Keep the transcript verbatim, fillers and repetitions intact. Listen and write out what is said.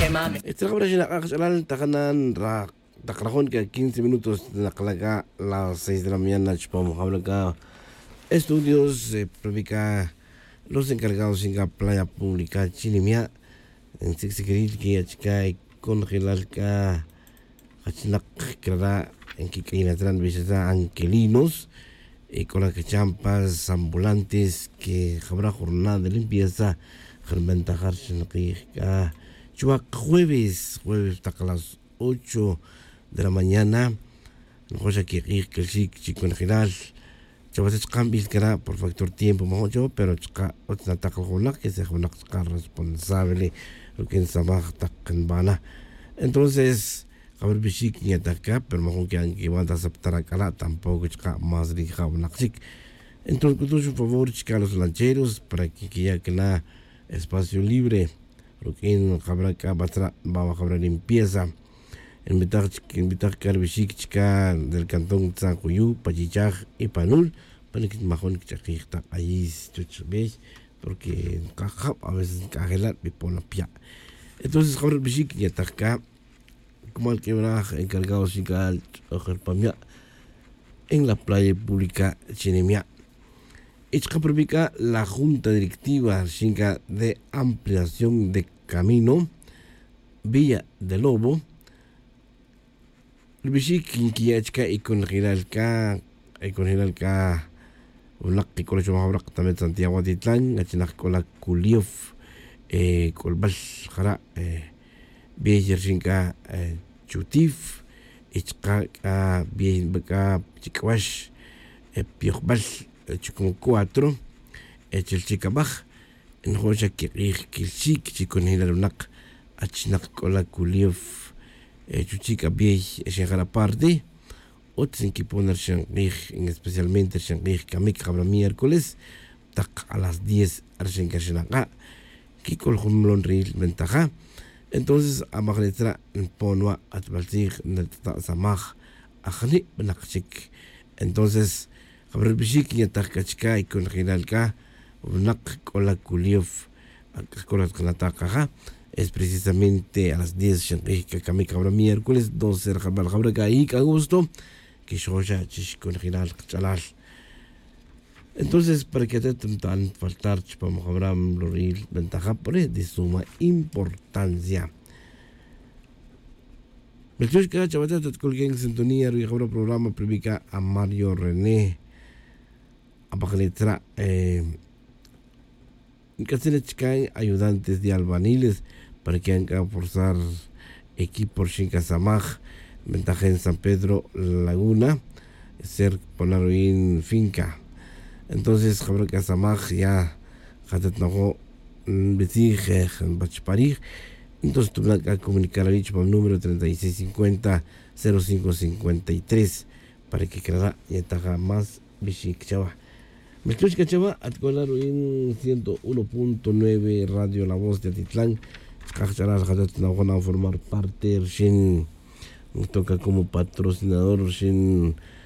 Etzra jabra xinak'a' kach'alal ta janan ra tak rajon c'a quince minutos nakala' c'a las seis de la mañana chupam jabra c'a estudios, prubi c'a los encargados xin c'a playa pública chinimia'. Ntzic'sicril quiya' chica y conjelal c'a jachnak crara' nquic'ayinat ra' nbixat ra' anquelinos, y c'o la cachampas ambulantes que jabra jornada de limpieza jarbentajar xinakij c'a chuwak jueves jueves tak las ocho de la mañana. Nojox xa quik'ij quelxic chi conjelal chawa ta chkanbil cara' por factor tiempo majun chawa pero chaka' utz natak la junak que se junak chaka' responsable ruq'uin samaj tak nbana. Entonces jabra bixic nyataj ca pero majun que anquiwan ta saptar ac'ala' tampoco chaka' más rija' winak chic. Entonces c'utux un favor chica los lancheros para que quiyac na espacio libre ruq'uin jabra c'a batzra' nbawa jabra limpieza. Nbitaj chic nbitaj c'a rubixic chica del cantón tzanjuyu pa chichaj y pa nul pa nic majun quich'akij ta k'ayis chuch bey porque nkajab a veces nc'ajela' nbipon apya'. Entonces jabra rubixic nyataj c'a cumal q'uibraj encargado xin c'a ch'ojel pamya' en la playa pública chinimya'. Y chaka' prubi c'a la junta directiva rixin c'a de ampliación de camino villa de lobo. Rubixic nquiya' chica y conjelal c'a y conjelal c'a winak que c'o la chumaj winak también santiago atitlan achinak c'o la culiof c'ulbal jara' bey rixin c'a chutif y chaka' c'a bey nba c'a chic'wax pyojbal chucum cuatro chilchic abaj. Nojox xa quik'ij quilxic chi conjelal winak achinak c'o la culiof chuchic abiey xinjara' parte utz nquipon rixin k'ij especialmente rixin k'ij camic jabra miércoles tak a las diez rixin c'a rixin ak'a' quic'ol jun molon ril ventaja. Entonces amajnitz ra' npon wa' atbal tzij nrtata' samaj ajni' winak chic. Entonces jabra rubixic nyataj c'a chica y conjelal c'a winak c'o la culiof ac'a c'o la tkanata' kaja es precisamente a las diez xenk'ij c'a camic jabra miércoles doce rajabal jabra c'a ic' agosto quixoxa chi xconjelal kach'alal. Entonces para que atet mtan faltar chupam jabra mloril ventaja por es de suma importancia. Melchux c'a chawatet atc'ulq'uin sintonía ruwi' jabra programa privica a mario rené. Apajnitz ra' nc'atzin chican ayudantes de albaniles para que anca forzar equipo rixin c'a samaj ventajen san pedro laguna ser pona ruin finca. Entonces jabra c'a samaj ya jatat nojo' nbitzij nbach parij. Entonces tubna' c'a comunicar awi' chupam número treinta y seis cincuenta cero cinco cincuenta y tres para que crara' yetaja más bixic chawa. Melchux c'a chawa atc'ola ruin ciento uno punto nueve radio la voz de atitlan. Chkaj ch'alal jatat nojo' na formar parte rixin ntoca como patrocinador rixin